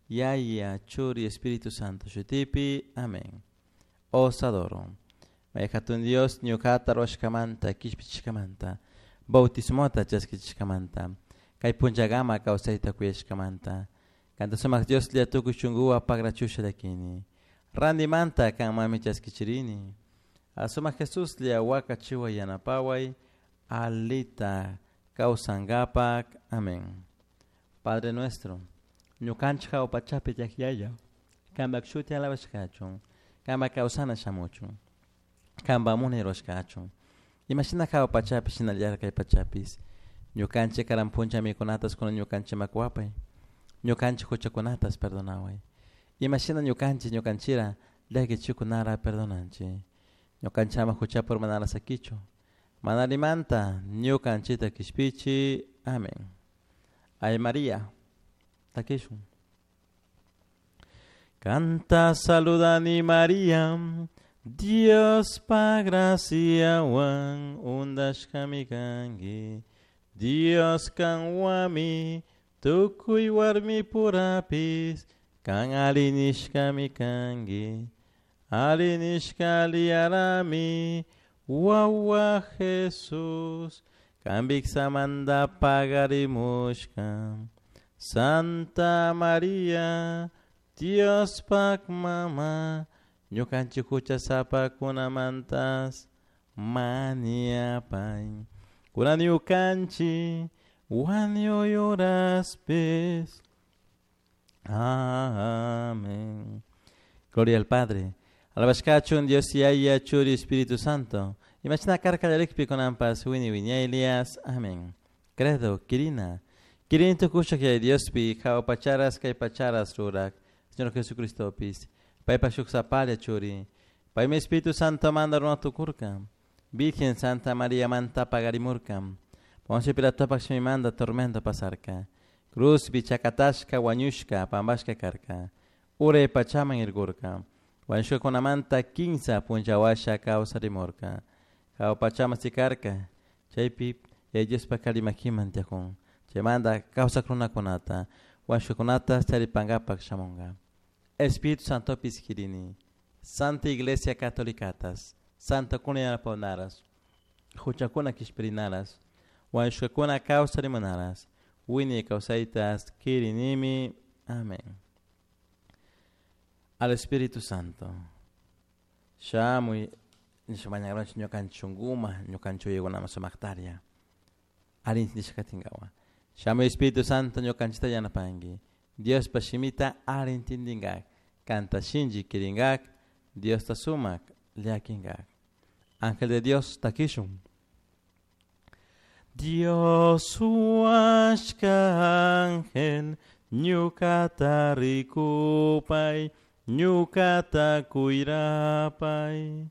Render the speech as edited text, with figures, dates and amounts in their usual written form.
Yaya, Churi, Espíritu Santo shutipi. Amén. Os adoro. May hatun Dios ñuqata ruwashkamanta, kishpichishkamanta, bautismota chaskichishkamanta, kay punllakama kawsayta kuyashkamanta, kanta sumak Dioslla tukuy shunkuwan pagrachusha llakini. Randimanta kanmanmi chaskichirini. Sumak Jesuslla wakachiway yanapaway alita kawsankapak. Amén. Padre nuestro, ñukanchik hawa pachapi tiyak Yaya, kanpak shuti alabashka kachun, kanpak kawsana shamuchun, kanpak munay rurashka kachun. Imashina hawa pachapi shinallatak kay pachapis. Ñukanchik karan puncha mikunatas kunan ñukanchikman kuwapay. Ñukanchik huchakunatas perdonaway. Imashina ñukanchik ñukanchira llakichikunara perdonanchik. Ñukanchik ama huchapi urmanara sakichu. Mana allimanta ñukanchikta kishpichi. Amén. Ay María, takishun. Kanta saludani María, Diospa graciawan undashkami kanki. Dios kanwami tukuy warmipurapis kan alli nishkami kanki. Alli nishka aliyarami wawa Jesús kan viksamanta pagarimushka. Santa María, Diospak mama, ñukanchik huchasapakunamantas mañapay. Kunan ñukanchik wañuy horaspis. Amén. Gloria al Padre. Alabashka kachun Dios Yaya, Churi, Espíritu Santo. Imashina karka kallarikpi kunanpas wiñay wiñaylias. Amén. Credo, kirina. Kirini tukushak Yaya Diospi, hawa pacharas kay pacharas rurak. Señor Jesucristopis. Paypak shuk sapalla Churi. Paymi Espíritu Santo manda runa tukurka. Virgen Santa María manta pagarimurka. Poncio Pilatopak shimimanta tormento pasarka. Cruzpi chakatashka wañushka pampashka karka. Uray pachaman irkurka. Wañushkakunamanta kinsa punlla washa kawsarimurka. Hawa pachaman sikarka. Chaypi Yaya Diospak alli makiman tiyakun. Chaymanta kawsak runakunata wañushkakunata charipankapak shamunka. Espíritu Santopis kirini. Santa Iglesia Catolicatas. Santokuna yanapawnaras. Huchakuna kishpirinaras. Wañushkakuna kawsarimunaras. Wiñay kawsaytas kirinimi. Amén. Al Espíritu Santo. Shamuy nisha mañagranchik ñukanchik shunkuma, ñukanchik uyaykunaman sumaktaria. Alli intindishka katinkawa. Shamuy Espíritu Santo ñukanchikta yanapanki. Diospa shimita alli intindinkak. Kanta shinchi kirinkak. Diosta sumak llakinkak. Ángel de Dios takishun. Dios huashka ángel ñukata rikupay, ñukata kuyrapay.